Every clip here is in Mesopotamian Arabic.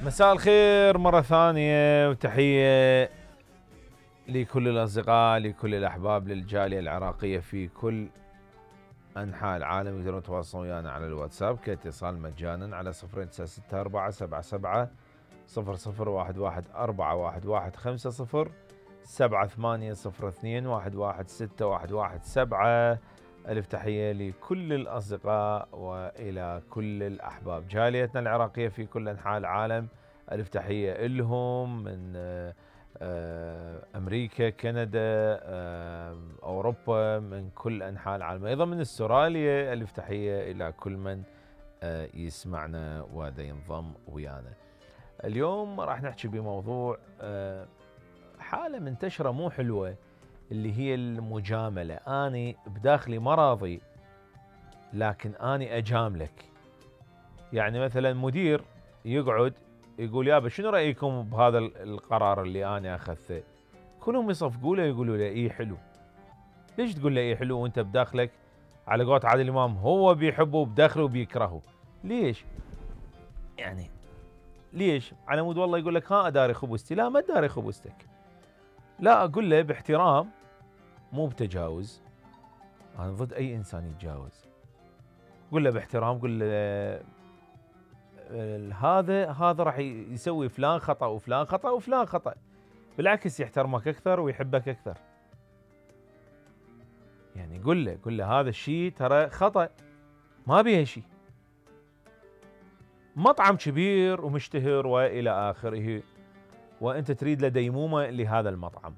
مساء الخير مرة ثانية وتحية لكل الأصدقاء لكل الأحباب للجالية العراقية في كل أنحاء العالم. يقدرون يتواصلون ويانا على الواتساب كاتصال مجانا على 0964 77 0011 4115 7802 11617. ألف تحية لكل الأصدقاء وإلى كل الأحباب جاليتنا العراقية في كل أنحاء العالم. ألف تحية لهم من أمريكا، كندا، أوروبا، من كل أنحاء العالم، أيضا من استراليا. ألف تحية إلى كل من يسمعنا ودا ينضم ويانا. اليوم راح نحكي بموضوع حالة منتشرة مو حلوة، اللي هي المجاملة. أنا بداخلي ما راضي لكن أنا أجاملك. يعني مثلا مدير يقعد يقول يابا شنو رأيكم بهذا القرار اللي أنا أخذته؟ كلهم يصفقوا له يقولوا له إيه حلو. ليش تقول له إيه حلو وأنت بداخلك على قولة عادل إمام هو بيحبه بداخله وبيكرهه؟ ليش؟ يعني ليش؟ على مود والله يقول لك ها أداري خبزتي. لا، ما أداري خبزتك. لا، أقول له باحترام مو بتجاوز. أنا ضد أي إنسان يتجاوز. قل له باحترام، قل له هذا راح يسوي فلان خطأ وفلان خطأ وفلان خطأ. بالعكس يحترمك أكثر ويحبك أكثر. يعني قل له هذا الشيء ترى خطأ ما بيه شيء. مطعم كبير ومشتهر وإلى آخره، وأنت تريد له ديمومة لهذا المطعم،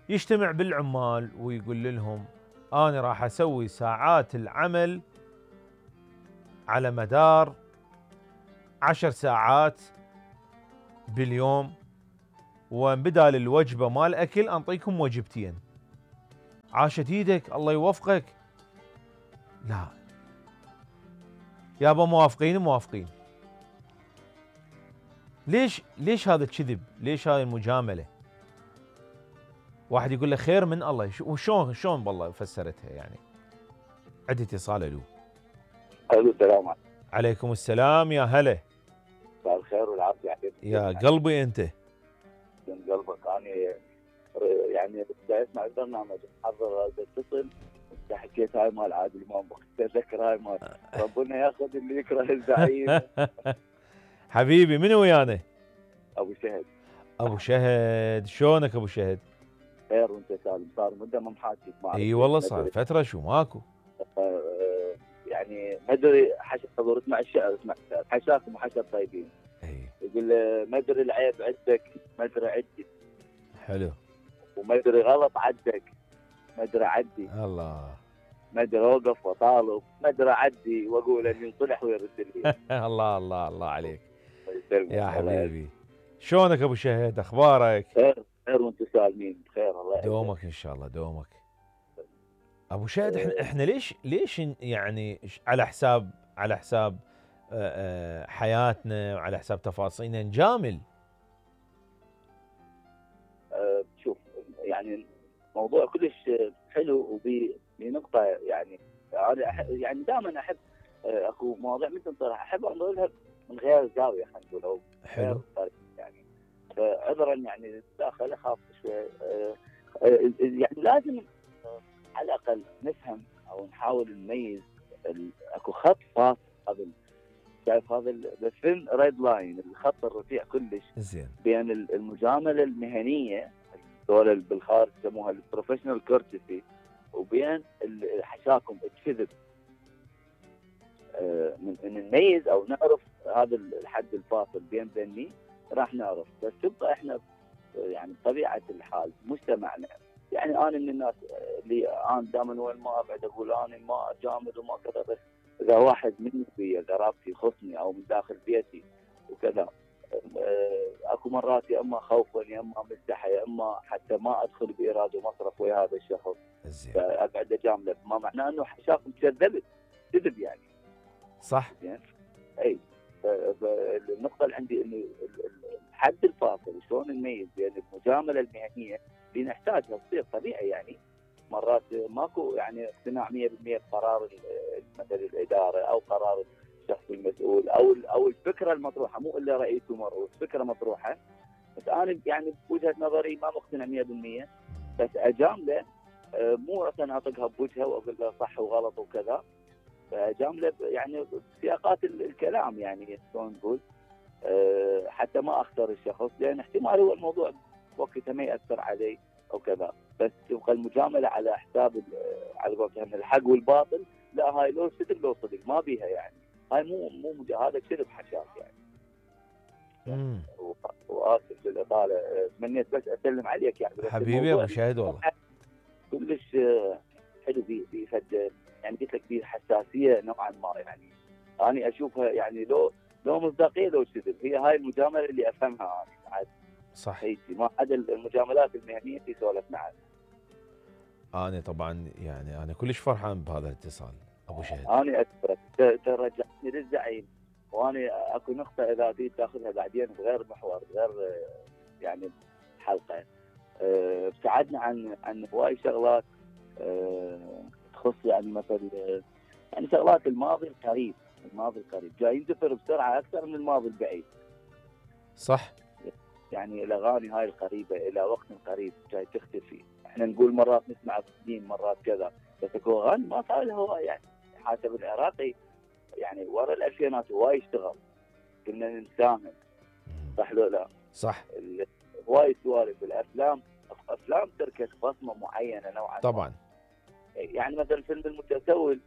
يجتمع بالعمال ويقول لهم أنا راح أسوي ساعات العمل على مدار 10 ساعات باليوم، وبدال الوجبة مال أكل أنطيكم وجبتين. عاشت ايدك الله يوفقك. لا يابا موافقين. ليش هذا الكذب؟ ليش هذه المجاملة؟ واحد يقول له خير من الله. وشون بالله فسرتها يعني. عندي اتصال. الو. السلام عليكم. عليكم السلام. يا هلا. مساء الخير والعافية عليك. يا قلبي انت. من قلبك. انا يعني بدي اسمع البرنامج حضر اتصل. انت حكيت هاي مال عادل امام، اتذكر هاي مال ربنا ياخذ اللي يكره الزعيم. حبيبي من ويانا؟ ابو شهد. ابو شهد، شلونك ابو شهد؟ خير وانت سالم. صار مده ما محاكيك معك. اي والله صار فتره. شو ماكو؟ يعني ما ادري حشد حضور. اسمع الشعر، اسمع حشاكم وحشد طيبين. يقول ما ادري العيب عندك ما ادري عندي. حلو. وما ادري غلط عندك ما ادري عدي. الله. ما ادري اوقف واطالب ما ادري اعدي واقول اني انصلح ويرد لي. الله الله الله عليك يا حبيبي. شلونك ابو شهد؟ اخبارك؟ خير وانتم سالمين بخير. الله يعزك. دومك ان شاء الله دومك. ابو شهد احنا ليش يعني على حساب حياتنا وعلى حساب تفاصيلنا نجامل؟ شوف يعني موضوع كلش حلو بنقطة. يعني انا يعني دائما احب اكو مواضيع مثل صراحة احب انظرها من غير زاوية، خلينا نقول او حلو يعني. فعذرا يعني داخل اخاف شوي. يعني لازم على الاقل نفهم او نحاول نميز اكو خط فاصل. هذا شايف هذا بالفيلم ريد لاين، الخط الرفيع كلش زين بين المجامله المهنيه دول بالخارج يسموها البروفيشنال كورتسي، وبين حشاكم الكذب. من نميز او نعرف هذا الحد الفاصل بين ذني راح نعرف. بس تبقى احنا يعني بطبيعه الحال مجتمعنا، يعني انا من الناس اللي انا دائما وين ما ابعد اقول انا ما اجامل وما كذا. بس اذا واحد مني بي قرابتي يخصني او من داخل بيتي وكذا، اكو مرات يا اما خوفا يا اما مستحي يا اما حتى ما ادخل بايراد ومصرف ويا هذا الشخص فاقعد اجامله، ما معناه انه حشاكم كذبت كذب يعني. صح. زين. اي النقطه اللي عندي انه الحد الفاصل شلون نميز بين المجامله المهنيه اللي نحتاجها تصير طبيعي. يعني مرات ماكو يعني اقتناع 100% بقرار مثل الاداره او قرار الشخص المسؤول او الفكره المطروحه، مو الا رئيس ومرؤوس، فكره مطروحه. بس انا يعني بوجهه نظري ما مقتنع 100%، بس اجامله مو مثلا اطقها بوجهه واقول له صح وغلط وكذا، فاجامله يعني بسياقات الكلام، يعني شلون نقول حتى ما اخسر الشخص، لان احتمال هو الموضوع وقتها ما ياثر علي او كذا، بس تبقى المجامله على حساب على قولتهم الحق والباطل، لا هاي لو صدق لو صدق ما بيها يعني، هاي هذا كذب حشاك يعني. واسف للاطاله، تمنيت بس اسلم عليك يعني، بس حبيبي ابو شاهد والله كلش حلو بيفد، يعني قلت لك فيه حساسيه نوعا ما، يعني انا اشوفها يعني لو مصداقيه لو كذب، هي هاي المجامله اللي افهمها انا عاد. صح. هيجي ما عدا المجاملات المهنيه اللي سولفنا عنها. انا طبعا يعني انا كلش فرحان بهذا الاتصال ابو شهد. انا اشكرك، ترجعني للزعيم، وانا اكو نقطه اذا تريد تاخذها بعدين بغير محور، غير يعني حلقه، ابتعدنا عن هواي شغلات تخص يعني مثل يعني شغلات الماضي القريب، جاي يندثر بسرعه اكثر من الماضي البعيد. صح. يعني الاغاني هاي القريبه الى وقت قريب جاي تختفي، احنا نقول مرات نسمع سنين مرات كذا، بس اكو اغاني ما صار لها هواي، يعني حسب العراقي يعني ورا الالفينات هواي اشتغل، كنا نساهم، صح لو لا؟ صح. هواي سوالف الافلام تركت بصمه معينه نوعا طبعا ما. يعني مثلا فيلم المتسول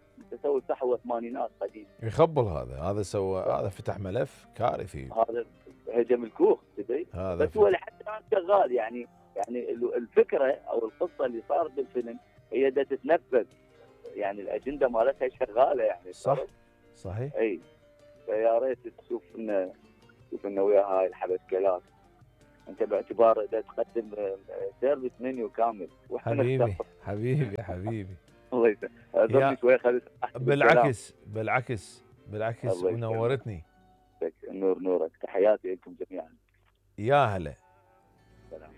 صح هو ثمانينات قديم، يخبل هذا سوى، هذا فتح ملف كارثي، هذا هجم الكوخ تدري، بس هو لحد الان شغال يعني الفكره او القصه اللي صارت بالفيلم هي دا تتنفذ، يعني الاجنده مالتها شغاله يعني. صح صحيح. اي فيا ريت تشوف لنا ويا هاي الحبشكلات، انت باعتبار اذا تقدم سيرفيس منيو كامل. حبيبي الله يسلمك، اعذرني شوي خليت بالعكس ونورتني. نورك، تحياتي لكم جميعا. يا هلا. سلام.